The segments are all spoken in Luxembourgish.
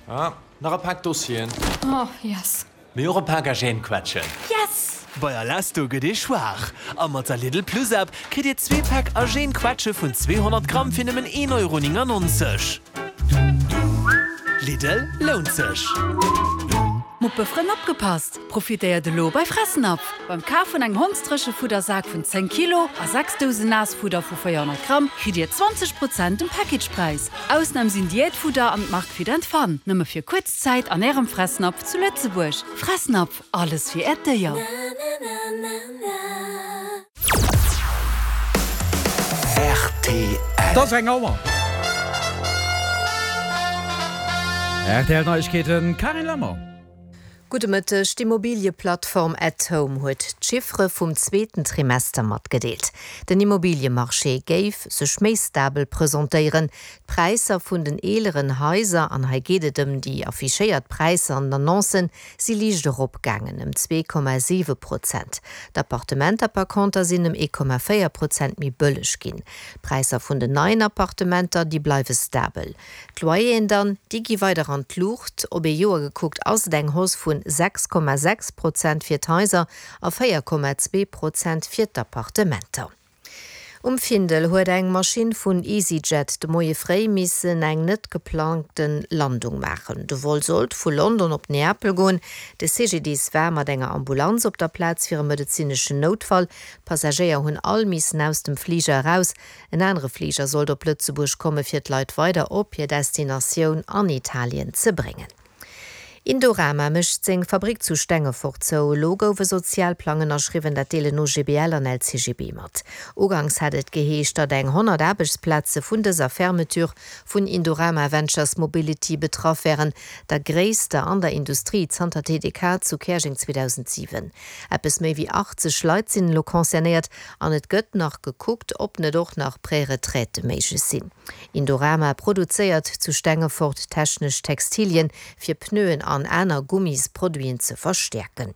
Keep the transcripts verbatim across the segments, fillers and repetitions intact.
Ah, nach e Pak Dossieren. Oh, yes. Mee och e Pak Argène-Quetschen. Yes! Bei Alesto gëtt ee schwaach. A mat der Lidl Plus App kritt Dir zwee Päck Argène Quetsche vun zweehonnert Gramm fir nëmmen een Euro néngennonzeg. Lidl, lount sech! Muppefrënn opgepasst! Profitéiert elo bei Fressnapf! Beim Kaf vun engem Hondsdréchefuddersak vun zéng Kilo a sechs Dousen Naassfudder vu véierhonnert Gramm kritt Dir zwanzeg Prozent um Packagepräis. Ausnam sinn Diätfudder an d'Mark Fit and Fun. Nëmme fir kuerz Zäit an Ärem Fressnapf zu Lëtzebuerg. Fressnapf, alles fir Äert Déier. Rtl. Et ass eng Auer. R T L Neiegkeeten, Carine Lemmer. Gudde Mëtteg, D'Immobilieplattform At Home huet d'Chiffere vum zweeten Trimester matgedeelt. Den Immobiliemarché géif sech méi stabel presentéieren. D'Präisser vun den eeleren Haiser, an hei geet et ëm déi affichéiert Präisser an Annoncen, si liicht eropgaangen, ëm zwee Komma siwe Prozent. D'Appartementer par conter sinn ëm ee Komma véier Prozent méi bëlleg ginn. D'Präisser vun den neien Appartementer, déi bleiwe stabel. D'Loyeren dann, déi gi weider an d'Luucht. Op ee Joer gekuckt ass et eng Hausse vun sechs Komma sechs Prozent fir d'Haiser a véier Komma zwee Prozent fir d'Appartementer. Um Findel huet eng Maschinn vun EasyJet de Moie fréi missen eng net geplangte Landung maachen. De Vol sollt vu London op Neapel goen. De C G D I S war mat enger Ambulanz op der Plaz fir e medezineschen Noutfall. D'Passagéier hunn all missen aus dem Fliger eraus. En anere Fliger sollt op Lëtzebuerg komme fir d'Leit weider op hir Destinatioun an Italien ze bréngen. Indorama mécht seng Fabrick zu Stengefort zou. Elo gouf e Sozialplang ënnerschriwwen, dat deelen O G B L an L C G B mat. Uganks hat et geheescht, datt eng honnert Aarbechtsplaze vun dëser Fermeture vun Indorama Ventures Mobility betraff wären, der gréisster an der Industrie zanter T D K zu Käerjeng zweedausentsiwen. Eppes méi wéi achtzeg Leit sinn elo concernéiert an et gëtt nach gekuckt, ob net och nach Préretraite méiglech sinn. Indorama produzéiert zu Stengefort technesch Textilien fir Pneuen an aner Gummisproduiten ze verstäerken.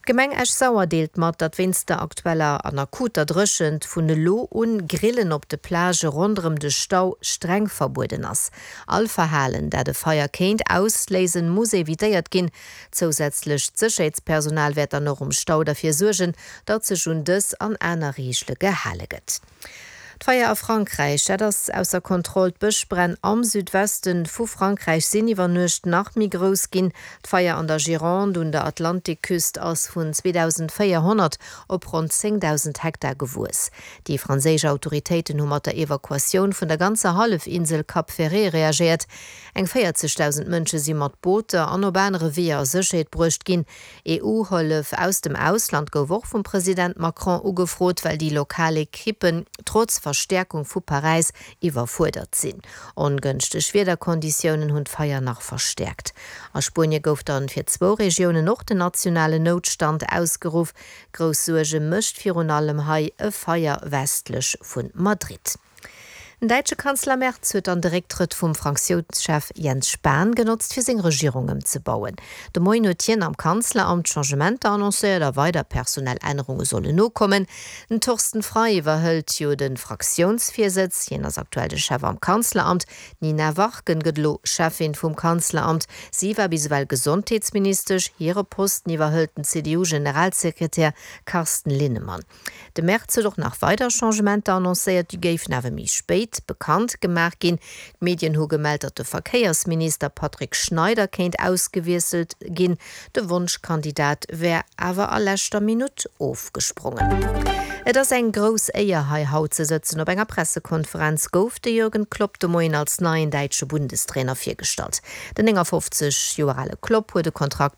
D'Gemeng Esch-Sauer deelt mat, datt wéinst der aktueller an akuter Dréchent vun elo un Grillen op de Plagë ronderëm de Stau streng verbueden ass. All Verhalen, dat e Feier kéint ausléisen, muss evitéiert ginn. Zousätzlecht Sécherheetspersonal wäert dann och um Stau derfir suergen, datt sech un dës an aner Reegele gehale gëtt. D'Feier a Frankräich, dat ass ausser Kontroll. D'Bëschbränn am Südweste vu Frankräich sinn iwwer Nuecht nach méi grouss ginn. D'Feier an der Gironde un der Atlantikküst ass vun zweedausendvéierhonnert op ronn zéngdausend Hektar gewuess. Déi franséisch Autoritéiten hu mat der Evakuatioun vun der ganzer Hallefinsel Cap Ferret reagéiert. Eng véierzegdausend Mënsche si mat Booter an op anere Weeër a Sécherheet bruecht ginn. E U-Hëllef aus dem Ausland gouf och vum President Macron ugefrot, well déi lokal Ekippen trotz Verstäerkung vu Paräis iwwerfuerdert sinn. Ongënschteg Wiederkonditiounen hunn d'Feier nach verstäerkt. A Spuenie gouf dann fir zwou Regiounen och den nationalen Noutstand ausgeruff. Grouss Suerge mécht virun allem hei e Feier westlech vu Madrid. Den däitsche Kanzler Merz huet dann de Récktrëtt vum Fraktiounschef Jens Spahn genotzt, fir seng Regierung ëmzebauen. De Moien huet hien am Kanzleramt Changementer annoncéiert a weider personell Ännerunge sollen nokommen. Den Thorsten Frei iwwerhëlt jo de Fraktiounsvirsëtz, hien ass aktuell de Chef am Kanzleramt. D'Nina Warken gëtt elo Cheffin vum Kanzleramt. Si war bis ewell Gesondheetsministesch, hire Posten iwwerhëlt den C D U-Generalsekretär Carsten Linnemann. De Merz huet och nach weider Changementer annoncéiert, déi géifen awer méi spéit bekannt gemaach ginn. D'Medien hu gemellt, datt de Verkéiersminister Patrick Schneider kéint ausgewiesselt ginn. De Wonschkandidat wär awer a leschter Minutt ofgesprongen. Et ass eng grouss Éier hei haut ze sëtzen. Op enger Pressekonferenz gouf de Jürgen Klopp de Moien als neien däitsche Bundestrainer virgestallt. Den néngafofzeg Joer ale Klopp huet e Kontrakt